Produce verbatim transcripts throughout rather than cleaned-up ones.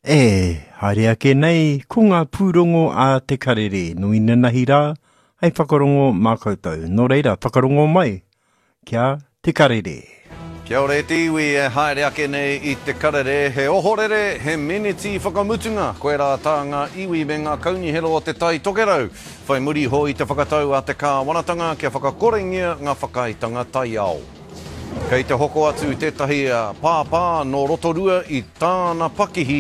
E, haere ake nei, ko ngā pūrongo a Te Karere, nō inanahi rā, hei whakarongo mā koutou. Nō reira, whakarongo mai ki a Te Karere. Kia ora e te iwi e haere ake nei i Te Karere, he ohorere, he meneti whakamutunga, koirā tā ngā iwi me ngā kaunihera o Te Tai Tokerau, whai muri iho i te whakatau a te kāwanatanga kia whakakorengia ngā whakaaetanga taiao. Kei te hoko atu tētahi pāpā nō Rotorua i tāna pakihi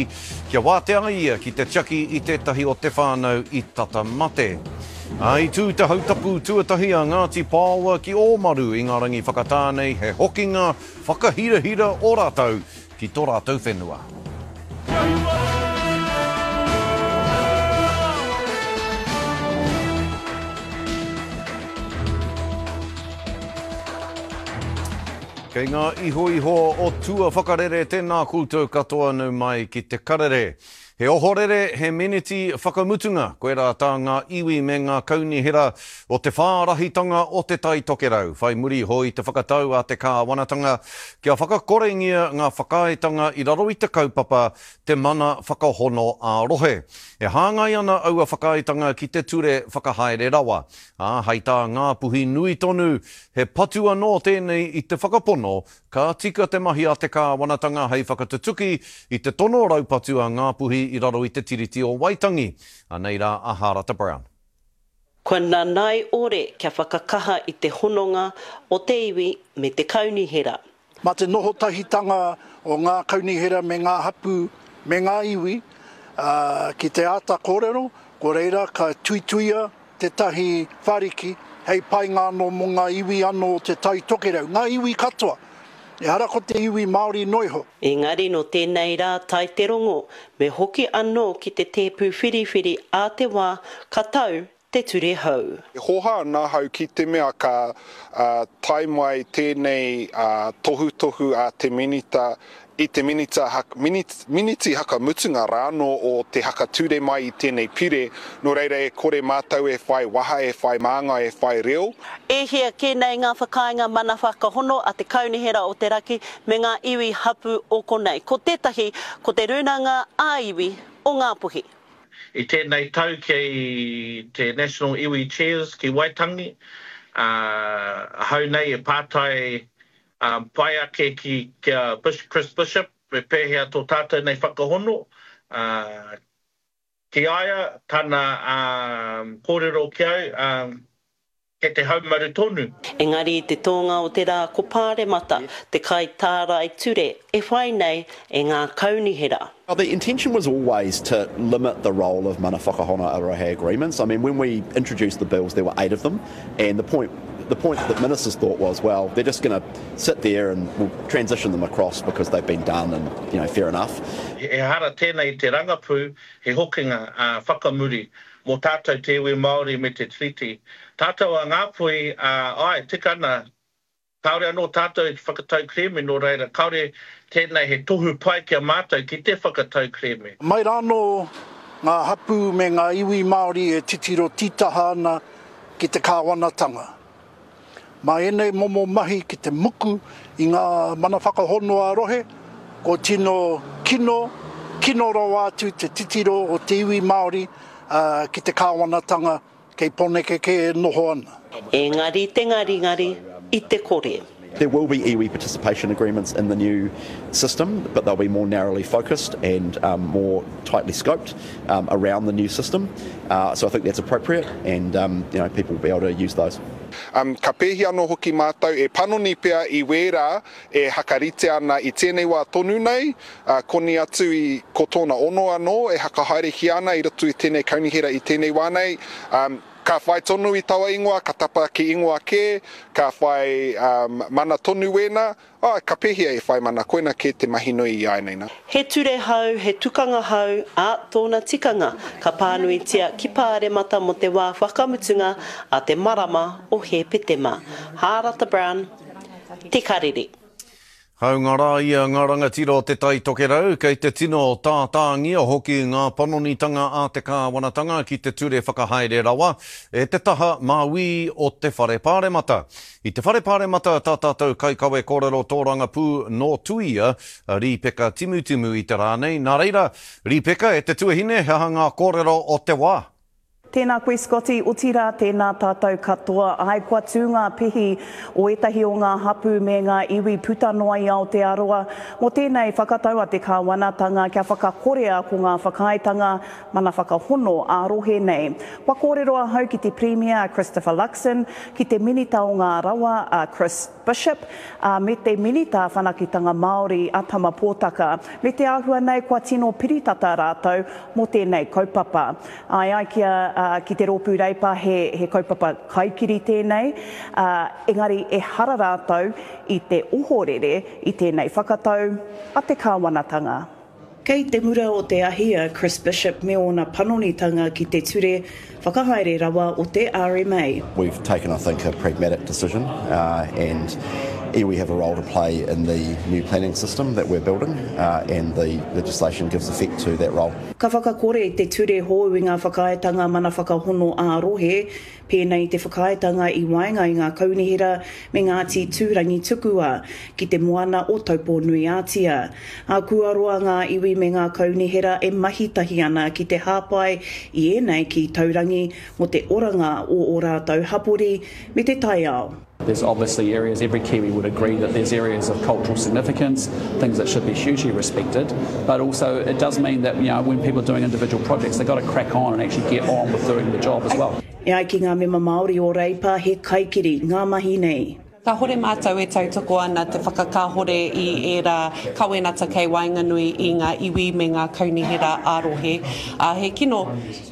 kia wātea ai ia ki te tiaki i tētahi o te whānau i tata mate. Ā, i tū te hautapu tuatahi a Ngāti Pāoa ki Ōmaru i ngā rangi whakatā nei, he hokinga whakahirahira o rātou ki tō rātou whenua. Kei ngā ihoiho o tua whakarere tēnā koutou katoa nau mai ki te karere. He ohorere, he meneti whakamutunga, koirā tā ngā iwi me ngā kaunihera o te whārahitanga o Te Tai Tokerau, whai muri iho i te whakatau a te kāwanatanga kia whakakorengia ngā whakaaetanga i raro i te kaupapa Te Mana Whakahono ā-Rohe. E hāngai ana aua whakaaetanga ki te ture whakahaere rawa, ā, hei tā Ngāpuhi nui tonu, he patu anō tēnei i te whakapono ka tika te mahi a te kāwanatanga hei whakatutuki i te tono raupatu a Ngāpuhi i raro i te Tiriti o Waitangi. Anei rā a Hārata Brown. Kua nanai ore kia whakakaha i te hononga o te iwi me te kaunihera. Mā te noho tahitanga o ngā kaunihera me ngā hapū me ngā iwi ki te āta kōrero, ko reira ka tuituia tētahi whariki hei painga anō mō ngā iwi anō o Te Tai Tokerau, ngā iwi katoa, ehara ko te iwi Māori noa iho. Engari nō tēnei rā tae te rongo, me hoki anō ki te tēpu whiriwhiri ā te wā ka tau te ture hou. E hōhā ana ahau ki te mea ka tae mai tēnei tohutohu a te Minita i te minita, miniti hakamutunga rānō o te hakature mai i tēnei pire, nō reira e kore mātou e whai waha, e whai māngai, e whai reo. E hia kē nei ngā whakaaenga mana whakahono a te Kaunihera o te Raki me ngā iwi hapū o konei. Ko tētahi, ko te Rūnanga ā-Iwi o Ngāpuhi. I tēnei tau kei te National Iwi Chairs ki Waitangi, ā, ahau nei e pātai pai ake ki ki a Chris Bishop me pēhea tō tātou nei whakahono, ā, ki a ia tana kōrero ki au, ā, kei te haumaru tonu. Engari i te tōnga o te rā ko Pāremata te kaitārai ture e whai nei e ngā kaunihera. Well, the intention was always to limit the role of mana whakahono a rohe agreements. I mean, when we introduced the bills, there were eight of them, and the point the point that ministers thought was, well, they're just going to sit there and we'll transition them across because they've been done and, you know, fair enough. Ehara tēnei i te rangapū, he hokinga whakamuri mō tātou te iwi Māori me te Tiriti. Tātou a Ngāpuhi, āe, tika ana, kāore anō tātou i te whakatau kerēme, nō reira, kāore tēnei he tohu pai ki a mātou ki te whakatau kerēme. Mai rānō ngā hapū me ngā iwi Māori e titiro tītaha ana ki te kāwanatanga. Mā ēnei momo mahi ki te muku i ngā mana whakahono ā-rohe, kua tino kino, kino rawa atu te titiro o te iwi Māori ki te kāwanatanga kei Poneke kē e noho ana. Engari te ngaringari i te kore. There will be iwi participation agreements in the new system, but they'll be more narrowly focused and um, more tightly scoped um, around the new system. Uh, so I think that's appropriate, and um, you know, people will be able to use those. Um, ka pēhi anō hoki mātou e panoni pea i wērā e hakarite ana i tēnei wā tonu nei, uh, koni atu i ko tōna ono anō e hakahaerehia ana i roto i tēnei kaunihera i tēnei wā nei. Um, ka whai tonu i taua ingoa, ka tapa ki ingoa kē, ka whai um, mana tonu wēnā, oh, ka pēhia e whai mana, koina kē te mahi nui i āianei nā. He ture hou, he tukanga hou, ā, tōna tikanga ka pānuitia ki Pāremata mō te wā whakamutunga a te marama o Hēpetema. Hārata Brown, Te Karere. Hāunga rā ia ngā rangatira o Te Tai Tokerau, kei te tino tātāngia hoki ngā panonitanga a te kāwanatanga ki te ture whakahaere rawa e te taha māui o te Whare Pāremata. I te Whare Pāremata tā tātou kaikawe kōrero tōrangapū nō Tuia, a Rīpeka Timutimu i te rā nei. Nā reira, Rīpeka, e te tuahine, he aha ngā kōrero o te wā? Tēnā koe Scotty, otirā tēnā tātou katoa. Āe, kua tū ngā pihi o ētahi o ngā hapū me ngā iwi puta noa i Aotearoa mō tēnei whakatau a te kāwanatanga kia whakakorea ko ngā whakaaetanga mana whakahono ā-rohe nei. Kua kōrero ahau ki te Pirimia a Christopher Luxon, ki te Minita o ngā Rawa a Chris Bishop, ā, me te Minita Whanaketanga Māori a Tama Potaka. Me te āhua nei kua tino piritata rātou mō tēnei kaupapa. Āe ai ki a, ki te Rōpū Reipa he, he kaupapa kaikiri tēnei, ā, engari ehara rātou i te ohorere i tēnei whakatau a te kāwanatanga. Kei te mura o te ahi a Chris Bishop me ōna panonitanga ki te ture whakahaere rawa o te R M A. We've taken, I think, a pragmatic decision, uh, and iwi have a role to play in the new planning system that we're building, uh, and the legislation gives effect to that role. Ka whakakore te ture hou i ngā whakaaetanga mana whakahono ā-rohe, pēnei te whakaaetanga i waenga i ngā kaunihera me Ngāti Tūrangi Tukua ki te moana o Taupō-nui-ā-Tia. Ā, kua roa ngā iwi me ngā kaunihera e mahi tahi ana ki te hāpai i ēnei ki taurangi mō te oranga o ō rātou hapori me te taiao. There's obviously areas, every Kiwi would agree that there's areas of cultural significance, things that should be hugely respected, but also it does mean that, you know, when people are doing individual projects, they've got to crack on and actually get on with doing the job as well. E ai ki ngā mema Māori o Reipa, he kaikiri ngā mahi nei. Kāhore mātou e tautoko ana te whakakāhore i ērā kawenata kei waenganui i ngā iwi me ngā kaunihera ā-rohe. Ā, he kino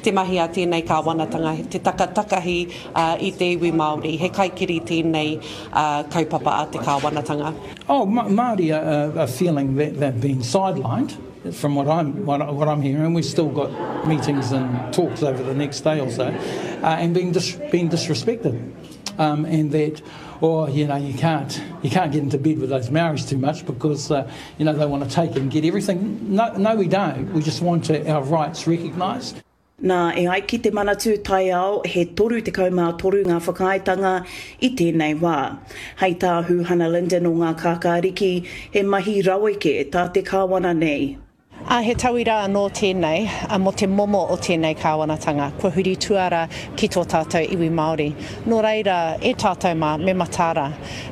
te mahi a tēnei kāwanatanga, te takatakahi i te iwi Māori. He kaikiri tēnei kaupapa a te kāwanatanga. Oh, Māori are, are feeling that they've been sidelined from what I'm, what, what I'm hearing. We've still got meetings and talks over the next day or so, uh, and being, dis-, being disrespected. Um, and that, oh, you know, you can't, you can't get into bed with those Maoris too much because, uh, you know, they wanna take and get everything. No, no, we don't. We just want to, our rights recognised. Nā, e ai ki te Manatū Taiao, he toru tekau mā toru ngā whakaaetanga i tēnei wā. Hei tā Huhana Lyndon o ngā kākāriki, he mahi raweke tā te kāwana nei. Ā, he tauira anō tēnei, a, mō te momo o tēnei kāwanatanga, kua huri tuara ki tō tātou iwi Māori. Nō reira, e tātou mā, me mataara.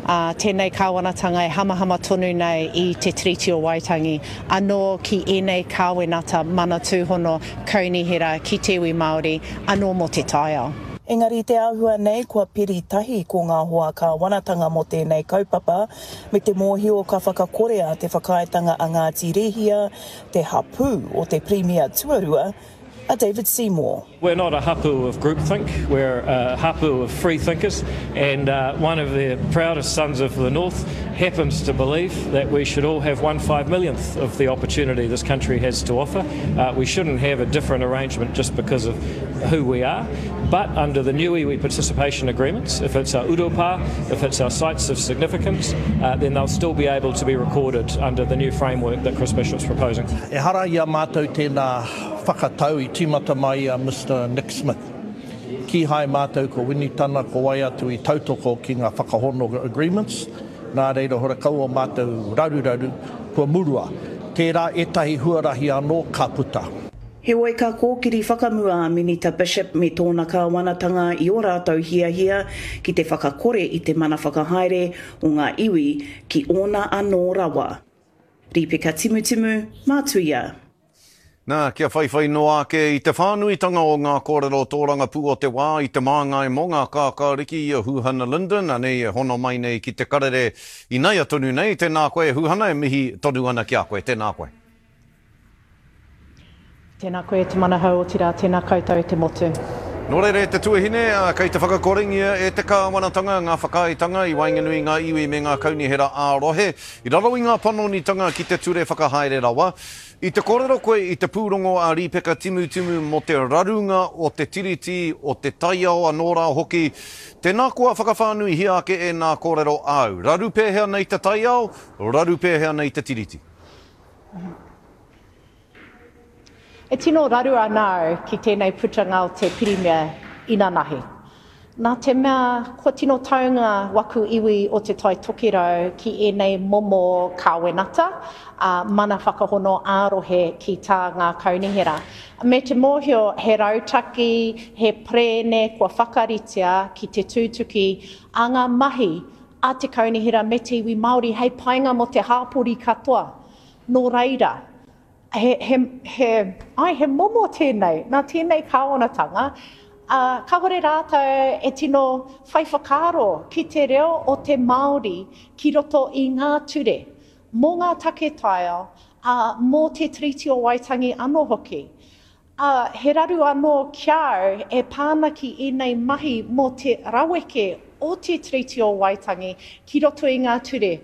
Ā, tēnei kāwanatanga e hamahama tonu nei i te Tiriti o Waitangi, anō ki ēnei kāwenata mana tūhono kaunihera ki te iwi Māori, anō mō te taiao. Engari te āhua nei kua piri tahi ko ngā hoa kāwanatanga mō tēnei kaupapa, me te mōhio ka whakakorea te whakaaetanga a Ngāti Rehia, te hapū o te Pirimia Tuarua, a David Seymour. We're not a hapu of groupthink, we're a hapu of free thinkers, and, uh, one of the proudest sons of the North happens to believe that we should all have one five millionth of the opportunity this country has to offer. Uh, we shouldn't have a different arrangement just because of who we are, but under the new iwi participation agreements, if it's our urupa, if it's our sites of significance, uh, then they'll still be able to be recorded under the new framework that Chris Bishop's proposing. Ehara i a mātou tēnā whakatau i tīmata mai a Mister Nick Smith. Ki hai mātou ko Winitana ko wai atu i tautoko ki ngā whakahono agreements, nā reira hora kau o mātou raruraru kua murua. Tērā ētahi huarahi anō ka puta. Heoi ka kōkiri whakamua a Minita Bishop me tōna kāwanatanga i ō rātou hiahia ki te whakakore i te mana whakahaere o ngā iwi ki ōna anō rawa. Rīpeka Timutimu, Mātuia. Nā, kia whaiwhai noa ake i te whānuitanga o ngā kōrero tōrangapū o te wā i te māngai mō ngā kākāriki i a Huhana Lyndon, anei e hono mai nei ki te karere i naia tonu nei. Tēnā koe, Huhana, e mihi tonu ana ki a koe. Tēnā koe. Tēnā koe te manahau o tira, tēnā koutou te motu. Nō reira e te tuahine, kei te whakakorengia e te kāwanatanga ngā whakaaetanga i waenganui i ngā iwi me ngā kaunihera ā-rohe i raro i ngā panonitanga ki te ture whakahaere rawa. I te kōrero koe i te pūrongo a Rīpeka Timutimu mō te rarunga o te Tiriti, o te taiao anō rā hoki. Tēnā koa whakawhānuihia ake ēnā kōrero āu. Raru pēhea nei te taiao, raru pēhea nei te Tiriti? E tino raru ana au ki tēnei putanga o te Pirimia inanahi. Nā te mea kua tino taunga waku iwi o Te Tai Tokerau ki ēnei momo kāwenata, ā, mana whakahono ā-rohe ki tā ngā kaunihera. Me te mōhio he rautaki, he perēne kua whakaritea ki te tūtuki a ngā mahi a te kaunihera me te iwi Māori hei painga mō te hāpori katoa. Nō reira, he, he, he, ai, he momo tēnei, nā tēnei kāwanatanga, ā, kāhore rātou e tino whai whakaaro ki te reo o te Māori ki roto i ngā ture, mō ngā take taiao, ā, mō te Tiriti o Waitangi anō hoki. Ā, he raru anō ki a au e pā ana ki ēnei mahi mō te raweke o te Tiriti o Waitangi ki roto i ngā ture,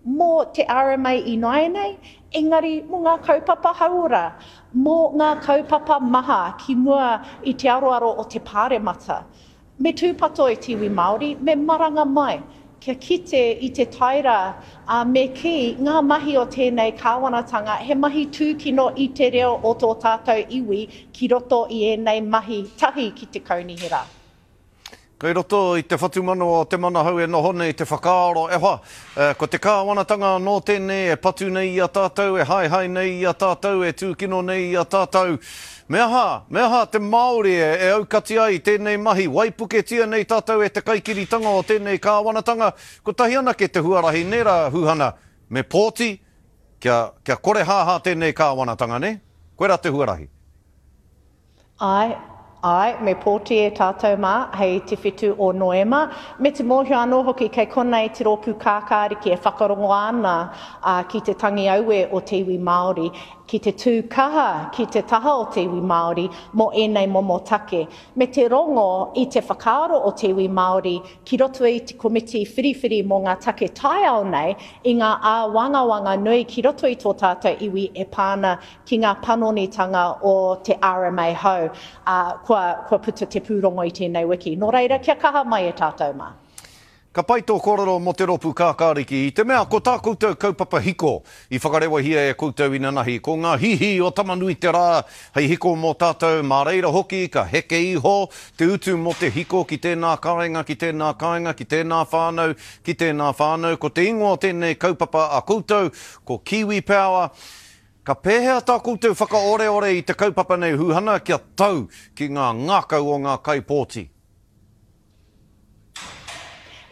mō te R M A ināianei, engari mō ngā kaupapa hauora, mō ngā kaupapa maha ki mua i te aroaro o te Pāremata. Me tūpato e te iwi Māori, me maranga mai, kia kite i te taera, ā, me kī, ngā mahi o tēnei kāwanatanga, he mahi tūkino i te reo o tō tātou iwi ki roto i ēnei mahi tahi ki te kaunihera. Kei roto i te whatumanawa o Te Manahau e noho nei te whakaaro, e hoa, ko te kāwanatanga anō tēnei e patu nei i a tātou, e haehae nei i a tātou, e tūkino nei i a tātou. Me aha, me aha te Māori e, e aukati ai tēnei mahi, waipuketia nei tātou e te kaikiritanga o tēnei kāwanatanga, kotahi anake te huarahi nē rā, Huhana, me pōti, kia, kia kore hāhā tēnei kāwanatanga, nē? Koirā te huarahi. Āe, āe, me pōti e tātou mā hei te whitu o Noema. Me te mōhio anō hoki kei konei te rōpū kākāriki e whakarongo ana ki te tangi aue o te iwi Māori, ki te tū kaha ki te taha o te iwi Māori mō ēnei momo take. Me te rongo i te whakaaro o te iwi Māori ki roto i te komiti whiriwhiri mō ngā take taiao nei i ngā āwangawanga nui ki roto i tō tātou iwi e pā ana ki ngā panonitanga o te R M A hou, ā, kua, kua puta te pūrongo i tēnei wiki. Nō reira, kia kaha mai e tātou mā. Ka pai tō kōrero mō te rōpū kākāriki, i te mea ko tā koutou kaupapa hiko i whakarewahia e koutou inanahi, ko ngā hihi o Tamanui-te-rā hei hiko mō tātou, mā reira hoki ka heke iho te utu mō te hiko ki tēnā kāinga, ki tēnā kāinga, ki tēnā whānau, ki tēnā whānau. Ko te ingoa o tēnei kaupapa a koutou, ko Kiwi Power. Ka pēhea tā koutou whakaoreore i te kaupapa nei, Huhana, kia tau ki ngā ngākau o ngā kaipōti?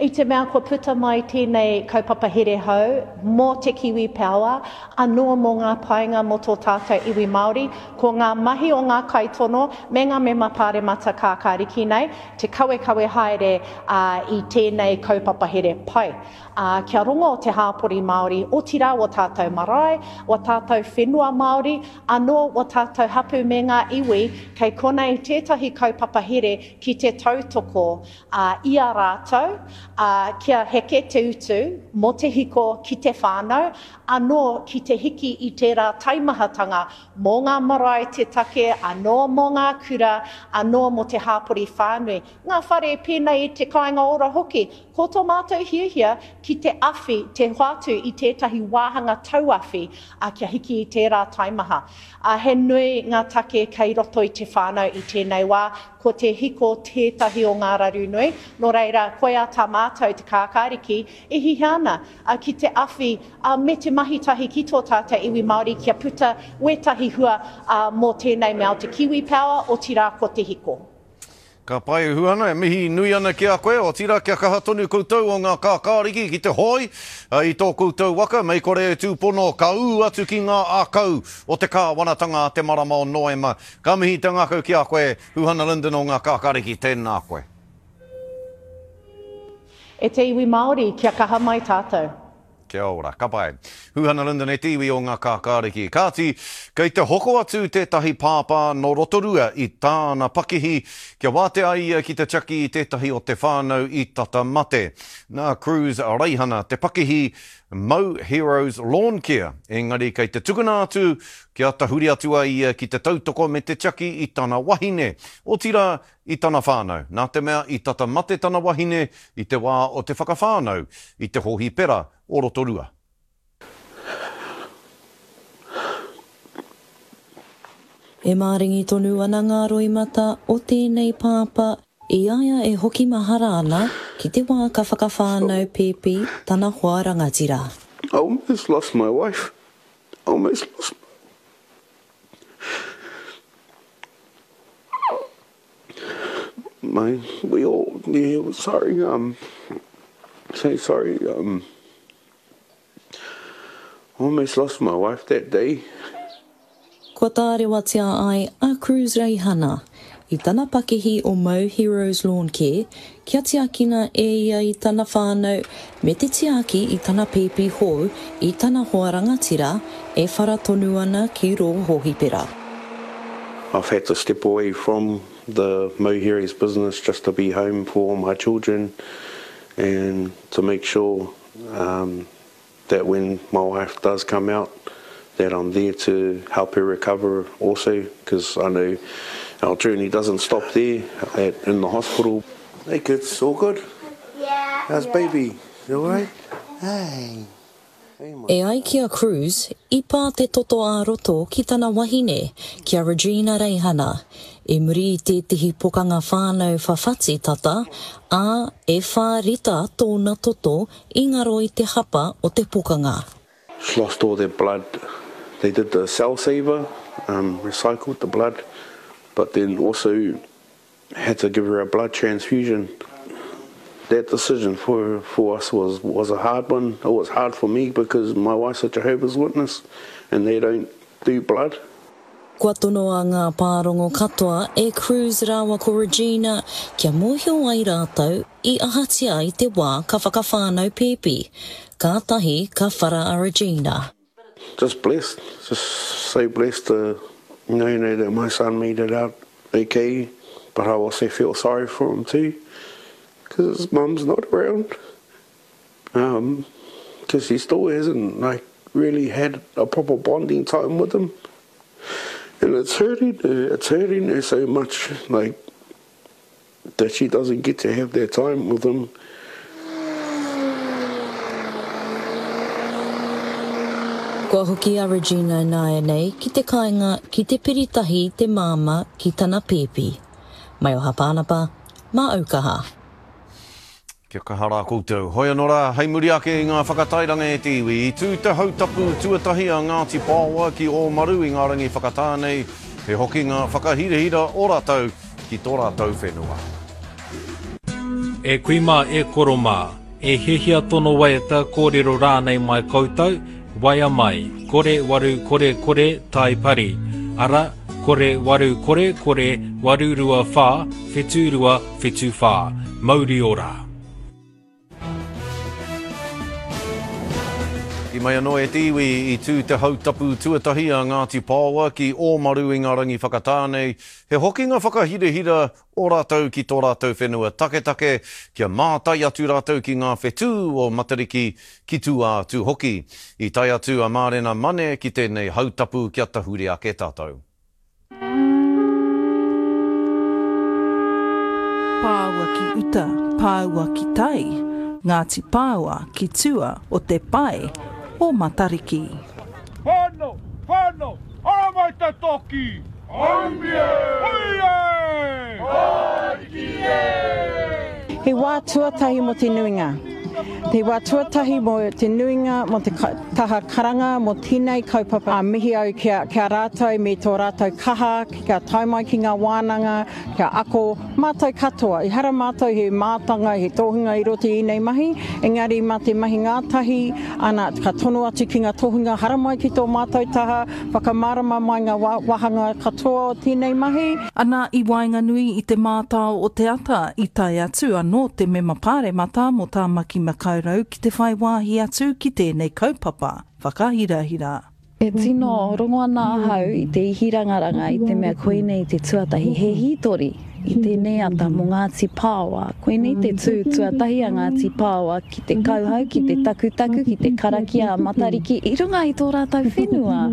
I te mea kua puta mai tēnei kaupapa here hou mō te Kiwi Power, anō mō ngā painga mō tō tātou iwi Māori, ko ngā mahi o ngā kaitono me ngā mema pāremata kākāriki nei, te kawekawe haere i tēnei kaupapa here pai. Ā, kia rongo te hāpori Māori, otirā wā tātou marae, wā tātou whenua Māori, anō wā tātou hapū me ngā iwi, kei konei tētahi kaupapa here ki te tautoko, ā, i a rātou, ā, kia heke te utu mō te hiko ki te whānau, anō ki te hiki i tērā taimahatanga mō ngā marae te take, anō mō ngā kura, anō mō te hāpori whānui. Ngā whare pēnei i te kāinga ora hoki, ko tō mātou hiahia ki te awhi, te hoatu i tētahi wāhanga tauawhi, ā, kia hiki i tērā taimaha. Ā, he nui ngā take kei roto i te whānau i tēnei wā, ko te hiko tētahi o ngā raru nui, nō reira, koia tā mātou te kākāriki e hihia ana, ā, ki te awhi, ā, me te mahi tahi ki tō tātou iwi Māori kia puta wētahi hua, ā, mō tēnei mea o te Kiwi Power, otirā ko te hiko. Ka pai, Huhana, e mihi nui ana ki a koe, otirā kia kaha tonu koutou o ngā kākāriki ki te hoi i tō koutou waka, mei kore e tūpono, ka ū atu ki ngā ākau o te kāwanatanga a te marama o Noema. Ka mihi te ngākau ki a koe, Huhana Lyndon o ngā kākāriki, tēnā koe. E te iwi Māori, kia kaha mai tātou. Kia ora. Ka pai. Huhana Lyndon e te iwi o ngā kākāriki. Kāti, kei te hoko atu tētahi pāpā nō Rotorua i tāna pakihi kia wātea ai ia ki te tiaki i tētahi o te whānau i tata mate. Nā Cruz Reihana te pakihi Mau Heroes Lawn Care, engari kei te tukuna atu kia tahuri atu ai ia ki te tautoko me te tiaki i tana wahine, otirā i tana whānau, nā te mea i tata mate tana wahine i te wā o te whakawhānau i te hōhipera o Rotorua. E māringi tonu ana ngā roimata o tēnei pāpā i a ia e hoki mahara ana ki te wā ka whakawhānau pēpi tana hoa rangatira. I almost lost my wife. I almost lost my, we all, yeah, sorry, um, say sorry, um, almost lost my wife that day. Kua tārewatia ai a Cruz Reihana i tana pakihi o Mau Heroes Lawn Care kia tiakina e ia i tana whānau me te tiaki i tana pēpi hou i tana hoa rangatira e whara tonu ana ki rō hōhipera. I've had to step away from the Mau Heroes business just to be home for my children and to make sure um, that when my wife does come out that I'm there to help her recover also, because I know our journey doesn't stop there at, in the hospital. Hey kids, all good? Yeah. How's baby? You all right? Hey. E ai ki a Cruz, i pā te toto ā-roto ki tana wahine, ki a Regina Reihana, i muri i tētehi pokanga whānau whawhati tata, ā, e whā rita tōna toto i ngaro i te hapa o te pokanga. She lost all their blood. They did the cell saver, um, recycled the blood, but then also had to give her a blood transfusion. That decision for, for us was, was a hard one. It was hard for me because my wife's a Jehovah's Witness and they don't do blood. Kua tonoa ngā pārongo katoa e Cruz rāua ko Regina kia mōhio ai rātou i ahatia i te wā ka whakawhānau pēpi. Kātahi ka whara a Regina. Just blessed, just so blessed to know, you know that my son made it out okay, but I also feel sorry for him too, because his mum's not around. Um, because he still hasn't like really had a proper bonding time with him. And it's hurting her, it's hurting her so much, like, that she doesn't get to have that time with him. Kua hoki a Regina nāianei ki te kāinga ki te piritahi te māmā ki tana pēpi. Maioha Pānapa, mā Aukaha. Kia kaha rā koutou. Hoi anō rā, hei muri ake i ngā whakatairanga e te iwi, i tū te hautapu tuatahi a Ngāti Paoa ki Ōmaru i ngā rangi whakatā nei, he hokinga whakahirahira o rātou ki tō rātou whenua. E kui mā, e koro mā, e hiahia tono waiata kōrero rānei mai koutou, waea mai, kore waru kore kore tai pari, ara, kore waru kore kore waru rua whā, whitu rua whitu whā. Mauri ora. I mai anō e te iwi i tū te hautapu tuatahi a Ngāti Paoa ki Ōmaru i ngā rangi whakatā nei, he hokinga whakahirahira o rātou ki tō rātou whenua taketake, kia mātai atu rātou ki ngā whetū o Matariki ki tua atu hoki. I tae atu a Mārena Mane ki tēnei hautapu kia tahuri ake tātou. Pāua ki uta, pāua ki tai, Ngāti Paoa ki tua o te pae o Matariki. Whānau, whānau, ara mai te toki! Haumie! Hui e! Ariki e! He wā tuatahi mō te nuinga. He wā tuatahi mō te nuinga, mō te taha karanga, mō tēnei kaupapa. A mihi au ki a, ki a rātou me tō rātou kaha, kia tae mai ki ngā wānanga, kia ako mātou katoa. Ehara mātou he mātanga, he tohunga i roto i ēnei mahi, engari mā te mahi ngātahi, ana, ka tono atu ki ngā tohunga haramai ki tō mātou taha, whakamārama mai ngā wāhanga katoa o tēnei mahi. Ana i waenganui i te mātao o te ata, i tae atu anō te mema pāremata mō Tāmaki Makaurau māraurau ki te whai wāhi atu ki tēnei kaupapa whakahirahira. E tino rongo ana ahau i te ihirangaranga i te mea koinei te tuatahi he hītori i tēnei ata mō Ngāti Pāoa. Koinei te tū tuatahi a Ngāti Pāoa ki te kauhau, ki te takutaku, ki te karakia a Matariki i runga i tō rātou whenua.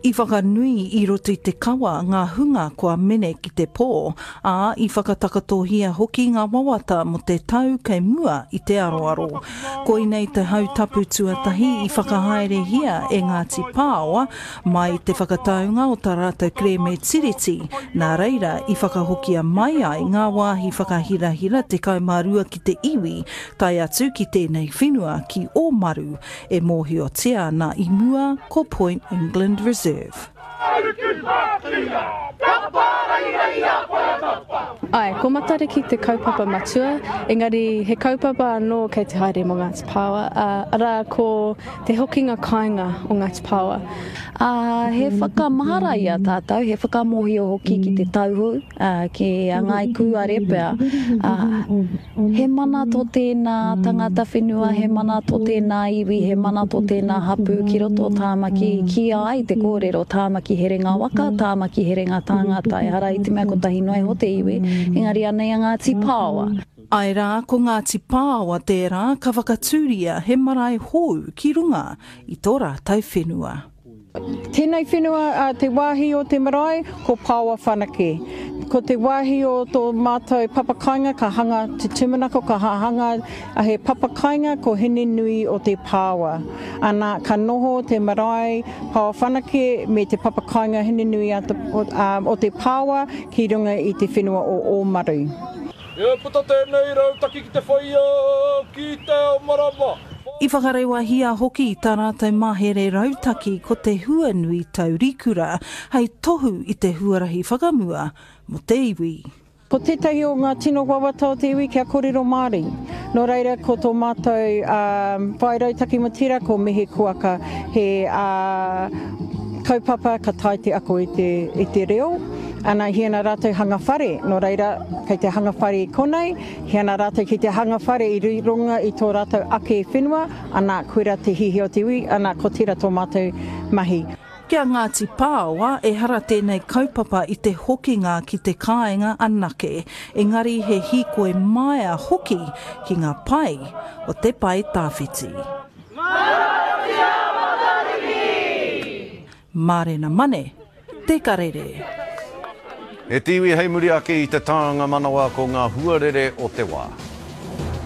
I whakanui i roto i te kawa ngā hunga kua mene ki te pō, ā, i whakatakatohia hoki ngā wawata mō te tau kei mua i te aroaro. Koinei te hautapu tuatahi i whakahaerehia e Ngāti Pāoa mai i te whakataunga o tā rātou kerēme Tiriti, nā reira i whakahokia mai ai ngā wāhi whakahirahira tekau mā rua ki te iwi, tae atu ki tēnei whenua ki Ōmaru, e mōhiotia ana i mua ko Point England Reserve. Āe, ko Matariki te kaupapa matua, engari he kaupapa anō kei te haere mō Ngāti Pāoa, arā ko te hokinga kāinga o Ngāti Pāoa. Ā, he whakamahara i a tātou, he whakamōhio hoki ki te tauhou, ki a Ngāi Kūare pea, ā, he mana tō tēnā tangata whenua, he mana tō tēnā iwi, he mana tō tēnā hapū ki roto o Tāmaki, i kīia ai te kōrero Tāmaki herenga waka, Tāmaki herenga tāngata, ehara i te mea kotahi noa iho te iwi, engari anei a Ngāti Pāoa. Āe rā, ko Ngāti Pāoa tērā ka whakatūria he marae hou ki runga i tō rātou whenua. Tēnei whenua, te wāhi o te marae, ko Pāoa Whanake. Ko te wāhi o tō mātou papakainga ka hanga te tūmanako, ka hanga he papakainga ko Hinenui o te Pāoa. Ana, ka noho te marae Pāoa Whanake me te papakainga Hinenui o te Pāoa ki runga i te whenua o Ōmaru. E puta tēnei rautaki ki te whaia ki te ao marama. I whakarewahia hoki tā rātou mahere rautaki ko te huanui taurikura hei tohu i te huarahi whakamua mō te iwi. Ko tētahi o ngā tino wawata o te iwi kia kōrero Māori. Nō reira ko tō mātou whai rautaki mō tērā ko Mihi Kuaka he kaupapa ka tae te ako i te, i te reo. Ana, he ana rātou hanga whare, nō reira kei te hanga whare i konei, he ana rātou ki te hanga whare i runga i tō rātou ake whenua, ana, koirā te hiahia o te iwi, ana, ko tērā tō mātou mahi. Ki a Ngāti Pāoa, ehara tēnei kaupapa i te hokinga ki te kāinga anake, engari he hīkoi maea hoki ki ngā pae o te pae tawhiti. Manawatia Matariki! Mārena Mane, Te Karere. E te iwi hei muri ake i te tānga manawa ko ngā huarere o te wā.